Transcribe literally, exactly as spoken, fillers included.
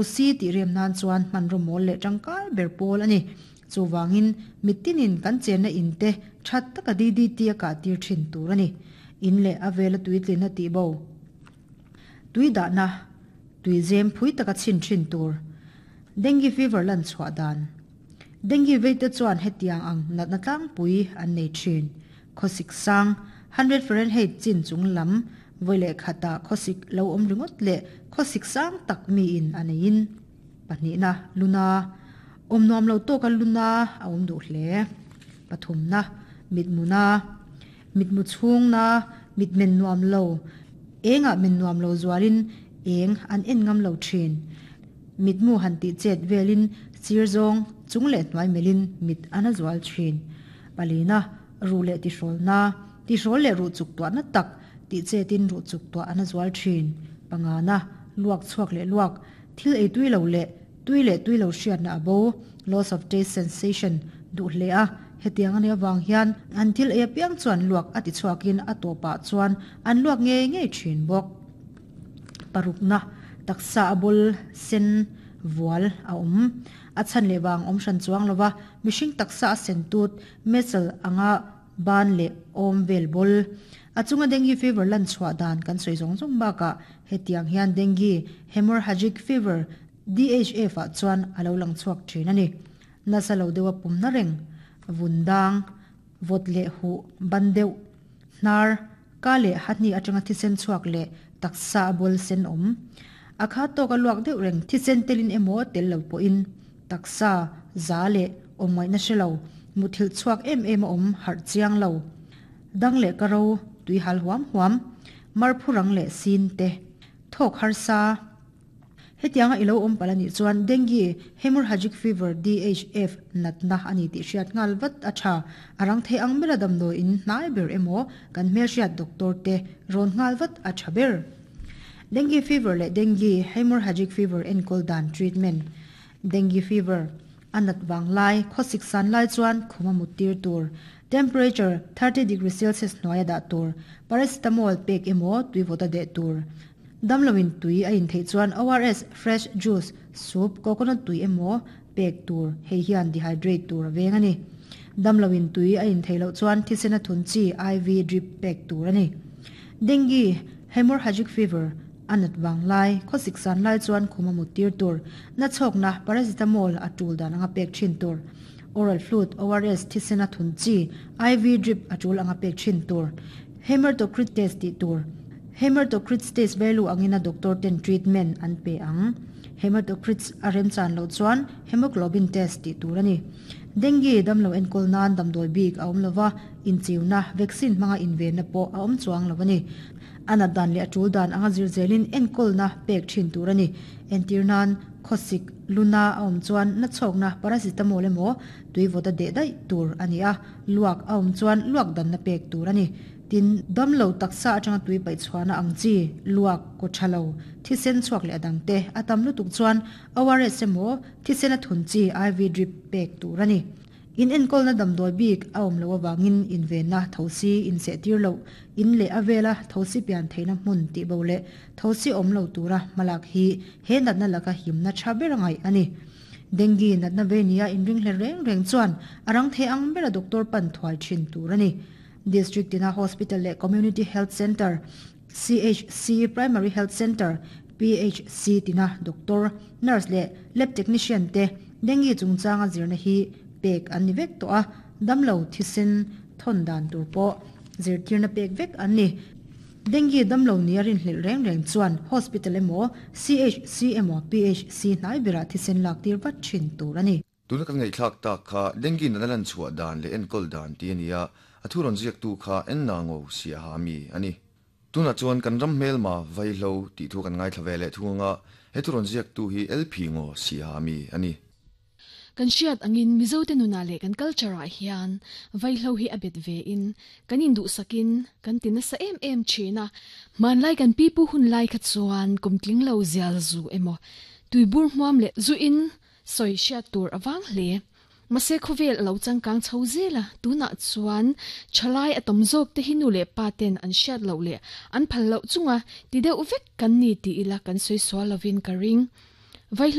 Si tih rem nan chuan hmanraw mawl leh tangkai ber pawl a ni. Chuvangin mitinin kan chenna in te that taka D D T a kah tir thin tur a ni. In leh a vela tuitlin a tih bo. Tui dahna tui zem phui taka chin thin tur. Dengue fever lan chhuah dan. Dengue veite chuan hetiang ang natna tlangpui an nei thin. Khawsik sang hundred Fahrenheit chin chung lam vawi khata khawsik lo awm ringawt leh khawsik sang tak mi in a neiin. Pahnihna luna awm nuam lo tawka luna a awm duh hle. Pathumna mitmuna mitmu chhungna mitmen nuam lo enga men nuam lo zualin eng an en ngam lo thin. Mitmu han ti chet velin sir zawng chung leh hnuai melin mit ana zual thin. Palina ru leh ti hrawl na ti hrawl leh ru chuk tuah na tak ti chetin ru chuk tuah ana zual thin. Pangana luak chuak leh luak thil ei tui lo leh tui leh tui lo hriat na abo loss of taste sensation duh hle a hetiang ani awang hian an thil ei apiang chuan luak ati chuakin a tawpah chuan an luak ngei ngei thin bawk. Parukna taksa abul sen vual a awm a chan leh wang awm hran chuang lova mihring taksa a sen tut metal anga ban leh awm vel bol a chunga dengue fever lan chhuah dan kan soi zawng zawng baka hetiang hian dengue hemorrhagic fever D H F a chuan alo lang chhuak thin ani. Nasa lo dewa pumna reng vundang vot leh hu bandeu hnar ka leh hatni atanga thisen chhuak leh taksa bol sen awm akha to ka luak deuh reng thisen telin emo tel lo po in taksa za leh awmai na hrelo muthil chhuak em em awm har chiang lo dang leh karo tui hal huam huam marphurang leh sin te thok har sa. Hetianga ilo awm palani chuan dengue hemorrhagic fever D H F natna ani ti hriat ngal vat a tha arang thei ang mela damdo in hnai ber emo kan hmel hriat doctor te ron ngal vat a tha ber. Dengue fever le dengue hemorrhagic fever enkol dan treatment. Dengue fever anat wang lai khosik san lai chuan khuma mutir tur temperature thirty degree celsius noya da tur paracetamol pek emo tuivota de tur. Damlowin tui a in thei chuan O R S fresh juice soup coconut tui emo pek tur hei hian dehydrate tur veng ani. Damlowin tui a in theilo chuan thisena thun chi I V drip pek tur ani. Dengue hemorrhagic fever anat wang lai khosik san lai chuan khuma mutir tur na chok na paracetamol atul dan anga pek thin tur oral fluid O R S thisena thun chi I V drip atul anga pek thin tur hematocrit test ti tur hematocrit test value angina doctor ten treatment an pe ang hematocrit arem chan lo chuan hemoglobin test ti tur ani. Dengue damlo enkol nan damdoi bik a awm lova inchiuna vaccine hmanga inven na pawh a awm chuang lovani. Ana dan le atul dan anga zir zelin enkol na pek thin tur ani. Entir nan khosik luna a awm chuan na chhawk na paracetamol emaw tuivawta deh daih tur ani a luak a awm chuan luak dan na pek tur ani. Tin damlo taksa atanga tui pai chhuana ang chi luak ko thalo thisen chuak leh adang te atam lutuk chuan O R S emaw thisen a thun chi I V drip pek tur ani. In enkol na damdoi bik a awm lo awangin invenna thosi in se tir lo in leh avela thosi pian theina hmun ti bo le thosi awm lo tura malak hi he natna laka himna tha ber angai ani. Dengue natna venia inring hle reng reng chuan arang the ang bera doctor pan thuai thin tur ani. District tina hospital le community health center C H C primary health center P H C tina doctor nurse le lab technician te dengue chungchanga zirna hi pek an ni vek to a damlo thisen thon dan tur po zirtirna pek vek an ni. Dengue damlo niarin hlil reng reng chuan hospital emo C H C emo P H C hnai bera thisen lak tir vat thin tur ani. Tuna kan ngei thlak tak kha dengue na lan chhuah dan le enkol dan ti ania a thuron ziak tu kha en na ngo sia ha mi ani. Tuna chuan kan ram hmel ma vai hlo ti thu kan ngai thlave le thunga he thuron ziak tu hi L P ngo sia ha mi ani. Kan hriat angin Mizo te nuna le kan culture a hian vai hlo hi abet ve in kan in du sakin kan tin sa em em china man lai kan pipu hun lai kha chuan kumtling lo zial zu emo tuibur hmuam le zu in soi hriat tur awang hle mase khovel lo changkang chho zela tuna chuan chalai atom zok te hinu le paten an hriat lo le an phal lo chunga ti deuh vek kan ni ti ila kan soi so lovin ka ring Vai